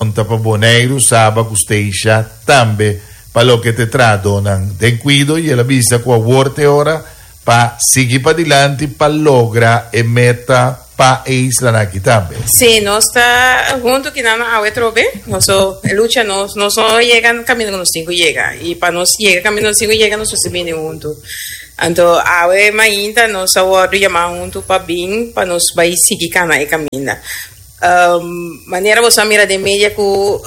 konta pa Boneiru, Saba ku Statia tambe pa loke ta e trahadónan den kuido i el a bisa ku awor ta e ora pa sigui padilanti pa logra e meta pa e islanan aki tambe. Sí, nos ta huntu kinan awe trobe. Nos lucha nos nos no yega kaminda ku nos tin ku yega i pa nos yega kaminda nos tin ku yega nos mester bini huntu. Anto awe mainta nos a wòrdu yamá huntu pa bin pa nos bai sigui kana e kaminda. Manera boso a mira den media ku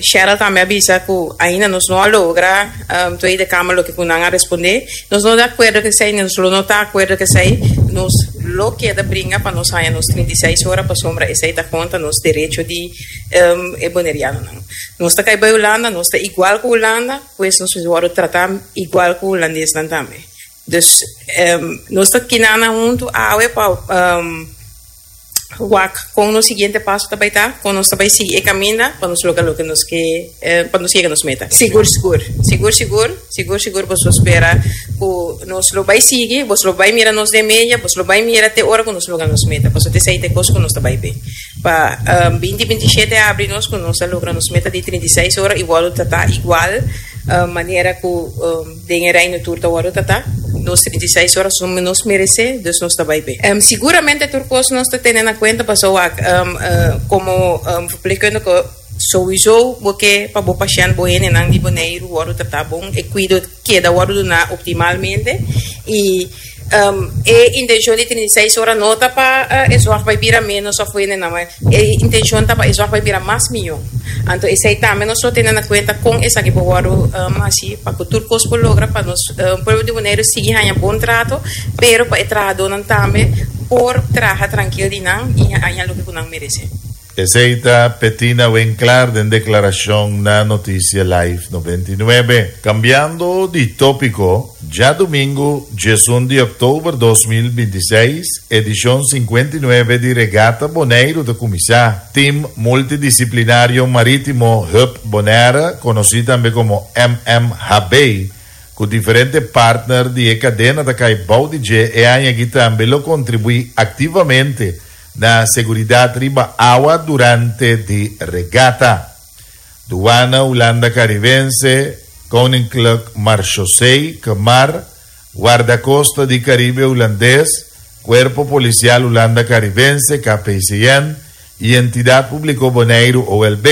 Cheryl tambe a bisa ku ainda nos no a logra Tweede Kamer loke ku nan a respondé. Nos no di akuerdo ku esei, nos lo no ta akuerdo ku esei. Nos lo keda bringa pa nos haña nos 36 ora pasobra esei ta kontra nos derecho di e bonerianonan. Nos ta kai bai Hulanda, nos ta igual ku Hulanda, pues nos mester wòrdu tratá igual ku hulandesnan tambe. Dus nos ta kinanan huntu awe pa. Wak kon nos siguiente paso ta bai ta, kon nos ta bai sigui e kaminda pa nos logra loke nos ke, pa nos yega nos meta. Sigur sigur, sigur sigur, sigur sigur boso spera ku nos lo bai sigui, boso lo bai mira nos den media, boso lo bai mira te ora ku nos logra nos meta, pasobra esei ta e kos ku nos ta bai be. Pa binti 27 abri nos ku nos a logra nos meta di 36 ora i wòrdu tratá igual manera ku. Den e Reino tur ta wòrdu tratá. Nos 36 ora suma nos meresé, dus nos ta bai be. Siguramente tur kos nos ta tene na kuenta pasobra wak komo verpleegkundige souiso bo ke pa bo pashènt, bo hendenan di Boneiru wòrdu tratá bon, e kuido keda wòrdu duná optimalmente i e intenshon di 36 ora no ta pa e zòrg bai bira ménos òf hendenan bai. E intencion ta pa e zorg bai bira mas miyo. Anto esei tambe nos lo tene na cuenta con esaki por wordo haci pa cu tur cos por logra pa nos pueblo di Boneiru sigui haña bon trato, pero pa e trahadornan tambe por traha trankil di nan y haña loke cu nan merece. Esei ta Petina Winklaar den declaracion na Noticia Live 99. Cambiando di topico, Djadumingu 11 di òktober 2026, edishon 59 di Regata Boneiru ta kuminsá. Tim Multidisiplinario Marítimo Hub Bonaire, konosí tambe komo MMHB, ku diferente partner di e kadena ta kai bou di dje e aña aki tambe lo kontribuí aktivamente na seguridat riba awa durante di regata. Duana Hulanda Karibense, Koninklijk Marchaussee, Kmar, Wardakosta di Karibe Hulandes, Kuerpo Polisial Hulanda Karibense, KPCN, i Entidat Públiko Boneiru, OLB,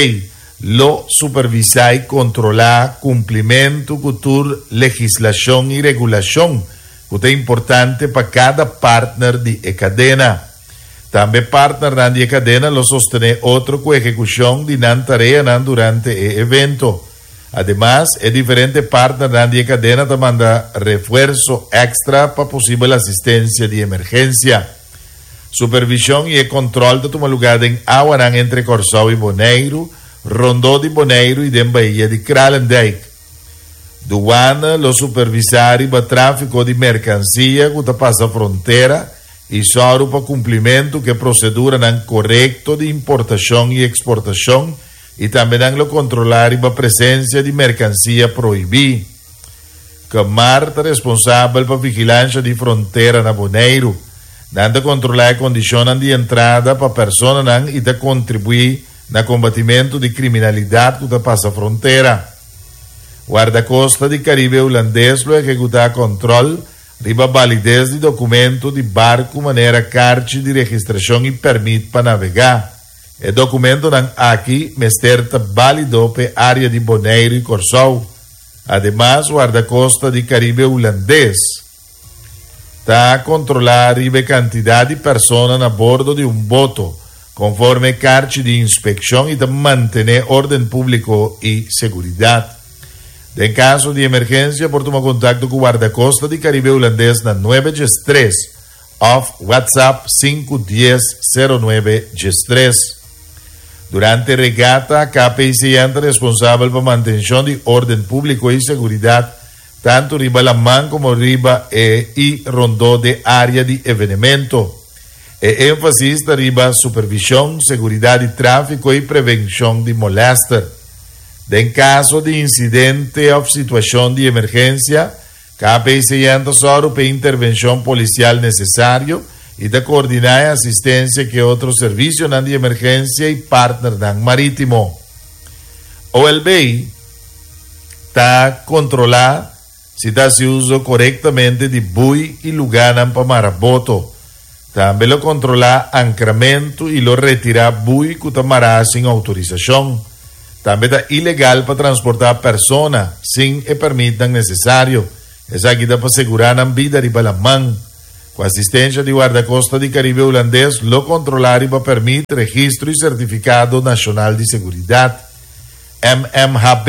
lo supervisá i kontrolá kumplimentu ku tur legislashon i regulashon ku ta importante pa kada partner di e kadena. Tambe partnernan di e kadena lo sostené otro ku ehekushon di nan tareanan durante e evento. Ademas, e diferente partnernan di e kadena ta manda refuerso èkstra pa posibel asistensia di emergensia. Supervishon i e kòntròl ta tuma lugá den awanan entre Kòrsou i Boneiru, rondó di Boneiru i den Bahia di Kralendijk. Duana lo supervisá riba tráfiko di merkansia ku ta pasa frontera i sòru pa kumplimentu ku e proseduranan korekto di importashon i eksportashon i tambe nan lo kontrolá riba presensia di merkansia prohibí. Kmar ta responsabel pa vigilansha di frontera na Boneiru. Nan ta kontrolá e kondishonnan di entrada pa personanan i ta kontribuí na kombatimentu di kriminalidat ku ta pasa frontera. Wardakosta di Karibe Hulandes lo ehekutá kòntròl riba balides di dokumento di barku manera karchi di registrashon i pèrmit pa navegá. E dokumentonan aki mester ta bálido pa e área di Boneiru i Kòrsou. Ademas, Wardakosta di Karibe Hulandes ta kontrolá riba e kantidat di persona na bordo di un boto konforme e karchi di inspekshon i ta mantené órden públiko i seguridat. Den kaso di emergensia por tuma kontakto ku Wardakosta di Karibe Hulandes na nuebe djes tres òf WhatsApp sinku dies sero nuebe djes tres. Durante regata, KPCN ta responsabel pa mantenshon di órden públiko i seguridat tantu riba laman komo riba e i rondó de área di evenemento. E énfasis ta riba supervishon, seguridat di tráfiko i prevenshon di molèster. Den kaso di insidente òf situashon di emergensia, KPCN ta sòru pa e intervenshon polisial nesesario i ta koordiná e asistensia ku e otro servisionan di emergensia i partnernan marítimo. OLB ta kontrolá si ta hasi uso korektamente di bui i lugánan pa mara boto. Tambe lo kontrolá ankramentu i lo retirá bui ku ta mará sin outorisashon. Tambe ta ilegal pa transportá persona sin e pèrmitnan nesesario. Esaki ta pa segurá nan bida riba laman. Ku asistensha di Wardakosta di Karibe Hulandes lo kontrolá riba pèrmit, registro i sertifikado nashonal di seguridat. MMHB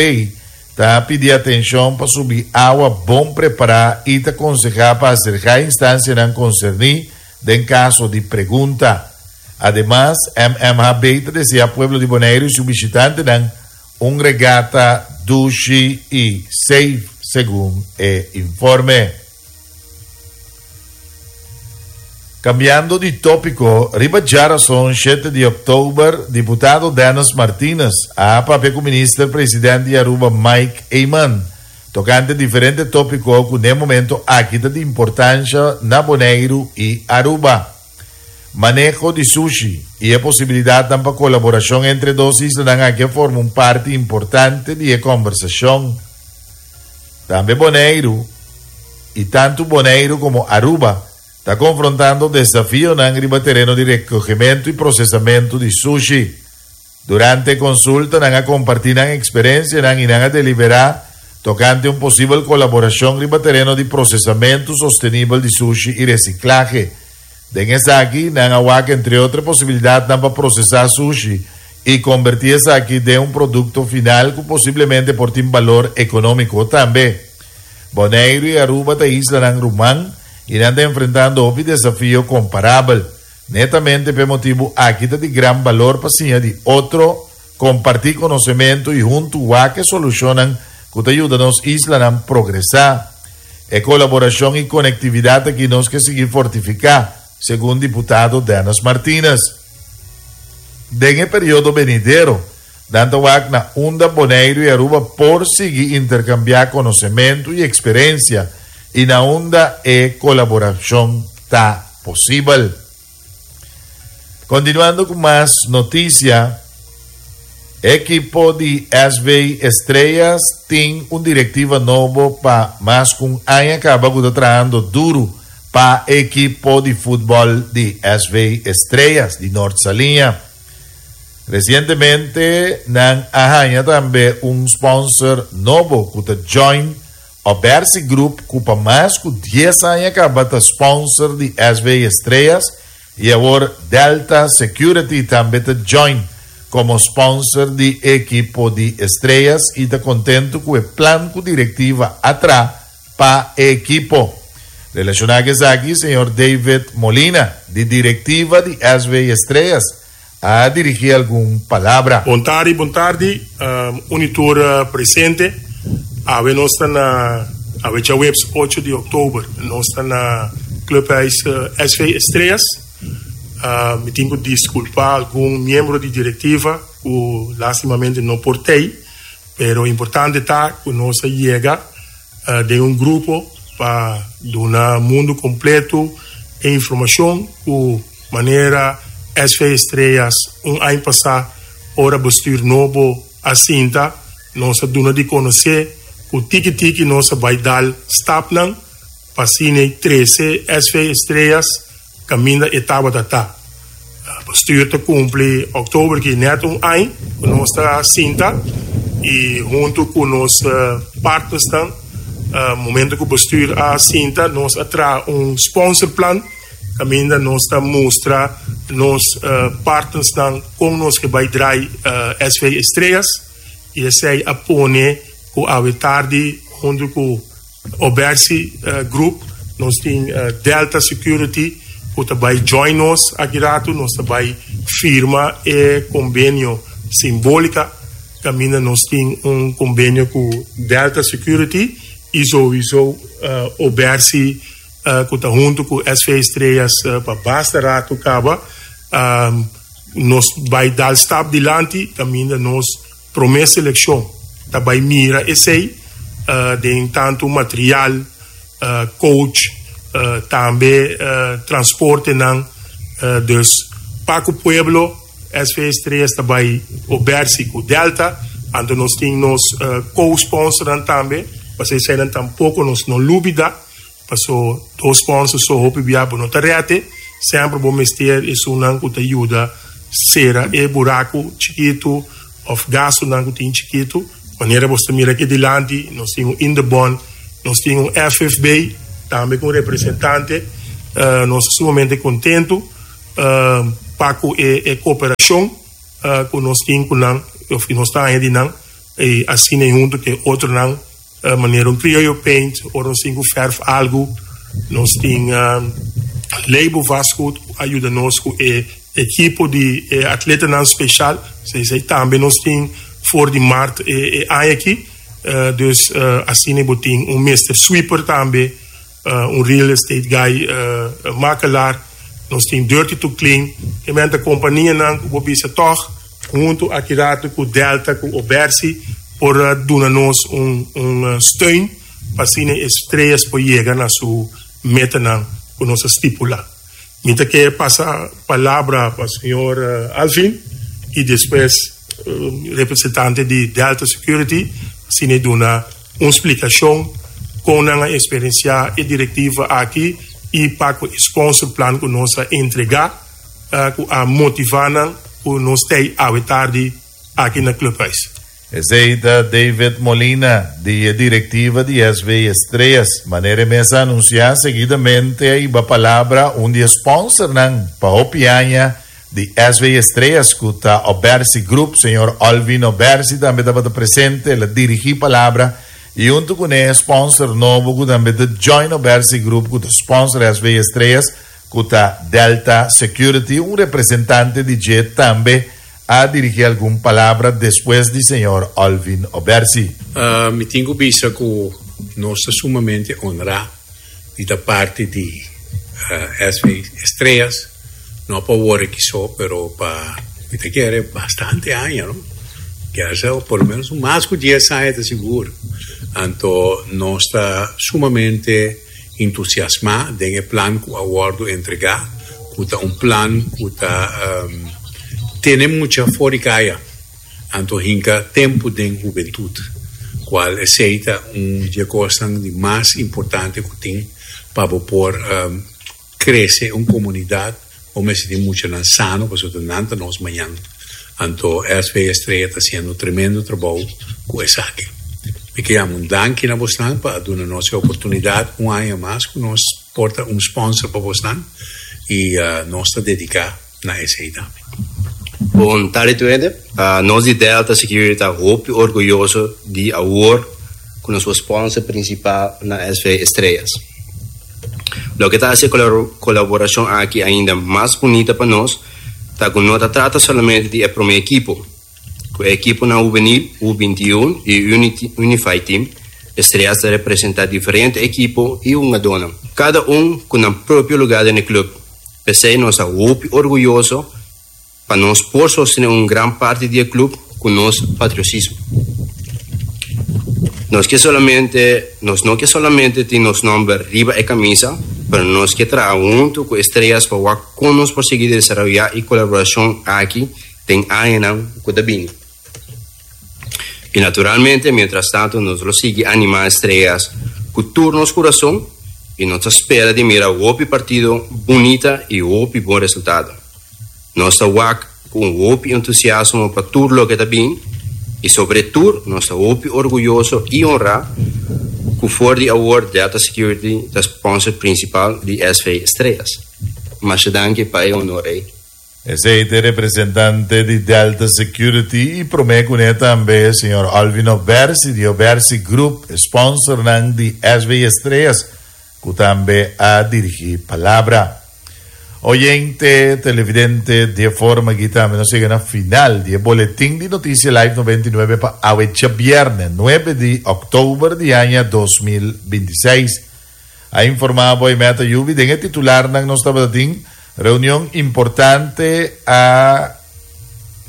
ta pidi atenshon pa subi awa bon prepará i ta konsehá pa aserká instansianan konserní den kaso di pregunta. Ademas, MMHB ta deseá pueblo di Boneiru i su bishitantenan un regata dushi i safe, segun e informe. Cambiando di tópiko, riba djarason shete di òktober, diputado Dennis Martinez a papia ku minister president di Aruba Mike Eman tokante diferente tópiko ku n'e momento aki ta di importansha na Boneiru i Aruba. Maneho di sushi i e posibilidatnan pa kolaborashon entre e dos islanan aki a forma un parti importante di e kòmbersashon. Tambe Boneiru, i tantu Boneiru komo Aruba, ta konfrontando desafionan riba tereno di rekogementu i prosesamentu di sushi. Durante e konsulta nan a kompartí nan eksperensianan i nan a deliberá tokante un posibel kolaborashon riba tereno di prosesamentu sostenibel di sushi i resiklahe. Den esaki nan a wak entre otro e posibilidatnan pa prosesá sushi i kombertí esaki den un produkto final ku posiblemente por tin balor ekonómiko tambe. Boneiru i Aruba ta islanan ruman i nan ta enfrentando hopi desafio komparabel. Netamente p'e motibu aki ta di gran balor pa siña di otro, kompartí konosementu i huntu wak e solushonnan ku ta yuda nos islanan progresá. E kolaborashon i konektividat aki nos ke sigui fortifiká, segun diputado Dennis Martinez. Den e periodo benidero, nan ta wak na unda Boneiru i Aruba por sigui interkambiá konosementu i eksperensia i na unda e kolaborashon ta posibel. Kontinuando ku mas notisia, ekipo di SV Estrellas tin un direktiva nobo pa mas ku un aña kaba ku ta trahando duru pa ekipo di futbòl di SV Estrellas di Nort Saliña. Resientemente nan a haña tambe un sponsor nobo ku ta join Obersi Group ku pa mas ku dies aña kaba ta sponsor di SV Estrellas i awor Delta Security tambe ta join komo sponsor di ekipo di Estrellas i ta kontentu ku e plan ku direktiva a tra pa e ekipo. Relashoná ku esaki señor David Molina di direktiva di SV Estrellas a dirigí algun palabra. Bon tardi, bon tardi, un i tur presente. Awe nos ta na, awe djaweps ocho di oktober, nos ta na Clubhuis SV Estrellas. Mi tin ku diskulpá algun miembro di direktiva ku lastimamente no por t'ei, pero importante ta ku nos a yega den un grupo pa duna mundu kompleto e informashon ku Manera SV Estrellas un aña pasá ora bestuur nobo a sinta, nos a duna di konosé ku tiki tiki nos a bai dal stapnan pa asina trese SV Estrellas kaminda e tabata ta. Bestuur ta kumpli òktober ki nèt un aña ku nos ta sinta i huntu ku nos partnersnan momento ku bestuur a sinta nos a traha un sponsorplan. Kaminda nos ta mustra nos partnersnan kon nos ke bai drai SV Estrellas i esei a pone ku awe tardi huntu ku Obersi Group nos tin Delta Security ku ta bai join nos aki ratu. Nos ta bai firma e kombenio simbolika kaminda nos tin un kombenio ku Delta Security i souiso Obersi ku ta huntu ku SV Estrellas pa basta ratu kaba. Nos bai dal stap dilanti kaminda nos promé selekshon ta bai mira esei den tantu material, coach, tambe transportenan. Dus pa ku pueblo SV Estrellas ta bai obersi ku Delta. Anto nos tin nos co-sponsornan tambe, pasobra eseinan tampoco nos no lubida, paso dos sponsor so hopi bia bo no ta rete, semper bo mester esunnan cu ta yuda cera e buraco chikito of gastonan cu tin chikito. Manera bo ta mira aki dilanti nos tin un Indebon, nos tin un FFB tambe cu un representante. Nos ta sumamente contento pa cu e cooperacion cu nos tin cu nan of cu nos ta haña di nan y asina y hunto cu e otronan manera un Criollo Paint ora nos tin cu verf algo nos tin Label Vastgoed cu a yuda nos cu e ekipo di e atletanan special esey tambe nos tin for di maart e aña aki dus asina bo tin un Mister Sweeper tambe. Un real estate guy, makelaar, nos tin Dirty to Clean, e men ta kompanianan ku bo bisa tòg huntu aki rato ku Delta ku Obersi por duna nos un un steun pa asina e Estrellas por yega na su metanan ku nos a stipulá. Mi ta ke pasa palabra pa señor Alvin i despues representante di Delta Security asina e duna un splikashon kon nan a eksperensiá e direktiva aki i pa ku e sponsorplan ku nos a entregá ku a motivá nan ku nos tei awe tardi aki na Clubhuis. Esei ta David Molina di e direktiva di SV Estrellas. Manera e mes a anunsiá, seguidamente a hiba palabra un di e sponsornan pa hopi aña di SV Estrellas ku ta Obersi Group, señor Olvin Obersi tambe tabata presente, el a dirigí palabra i huntu kuné e sponsor nobo ku tambe ta join Obersi Group ku ta sponsor SV Estrellas ku ta Delta Security, un representante di dje tambe a dirigí algun palabra despues di señor Olvin Obersi. Mi tin ku bisa ku nos ta sumamente honrá di ta parti di SV Estrellas. No pa awor aki so, pero pa mi ta kere bastante aña, no? Kier sa por lo menos mas ku dies aña ta sigur. Anto nos ta sumamente entusiasmá den e plan ku a wòrdu entregá, ku ta un plan ku ta tene mucha for di kaya, anto hinka tempu den hubentut, kual esei ta un di e kosnan di mas importante ku tin pa bo por Crece un comunidad bo mester tin muchanan sano pasobra ta nan ta nos mañan. Anto SV Estrella ta haciendo tremendo trabou cu esaki. Mi ke yama un danki na bosnan pa a duna nos e oportunidad un aña mas cu nos por ta un sponsor pa bosnan y nos ta dedica na esey tambe. Bon tardi tur hende. Nos di Delta Security ta hopi orguyoso di awor ku nos por sponsor principal na SV Estrellas. Loke ta hasi e kolaborashon aki ainda mas bunita pa nos ta ku no ta trata solamente di e promé ekipo. Ku e ekiponan hubenil, U 21 i Unified Team, Estrellas ta representá diferente ekipo i hungadónan, kada un ku nan propio lugá den e klup. P'esei nos ta hopi orguyoso pa nos por sostené un gran parti di e club cu nos patriosismo. Nos ke solamente, nos no ke solamente tin nos nomber riba e camisa, pero nos ke traha hunto cu Estrellas pa wak con nos por sigui desaroya e colaboracion aki den añanan cu ta bini. Y naturalmente, mientras tanto, nos lo sigui anima Estrellas cu tur nos curason y nos ta spera di mira hopi partido bunita y hopi bon resultado. Nos ta wak cu un hopi entusiasmo pa tur loke ta bin y sobre tur nos ta hopi orguyoso y honra cu for di awor Delta Security ta sponsor principal di SV Estrellas. Masha danki pa e honor ey. Esei ta e representante di Delta Security y prome cune tambe señor Alvin Obersi di Obersi Group, e sponsornan di SV Estrellas, cu tambe a dirigi palabra. Oyente, televidente, di e forma aki tambe nos yega na final di e boletin di Noticia Live 99 pa awe djabierne, 9 di october di aña 2026. A informa bo e meta yubi den e titularnan nos tabata tin reunion importante a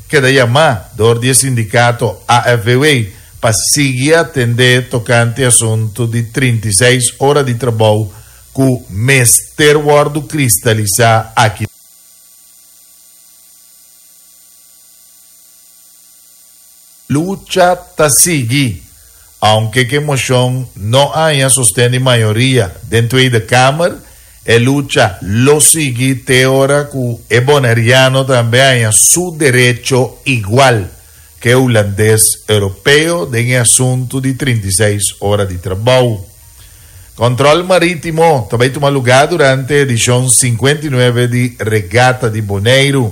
keda yama dor di e sindicato AFVW pa sigui atende tocante asunto di 36 ora di trabou cu mester wordo cristalisa aki. Lucha ta sigui. Aunke ku e moshon no haña sosten di mayoria den Tweede Kamer, e lucha lo sigui te ora ku e boneriano tambe haña su derecho igual ku e hulandes europeo den e asuntu di 36 ora di trabou. Kòntròl marítimo ta bai tuma lugá durante edishon 59 di Regata di Boneiru.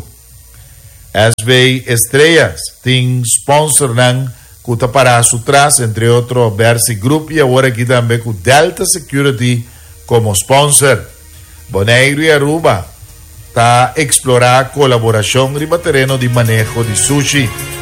SV Estrellas tin sponsornan ku ta pará su tras, entre otro Bersi Group i awor aki tambe ku Delta Security komo sponsor. Boneiru i Aruba ta eksplorá kolaborashon riba tereno di maneho di sushi.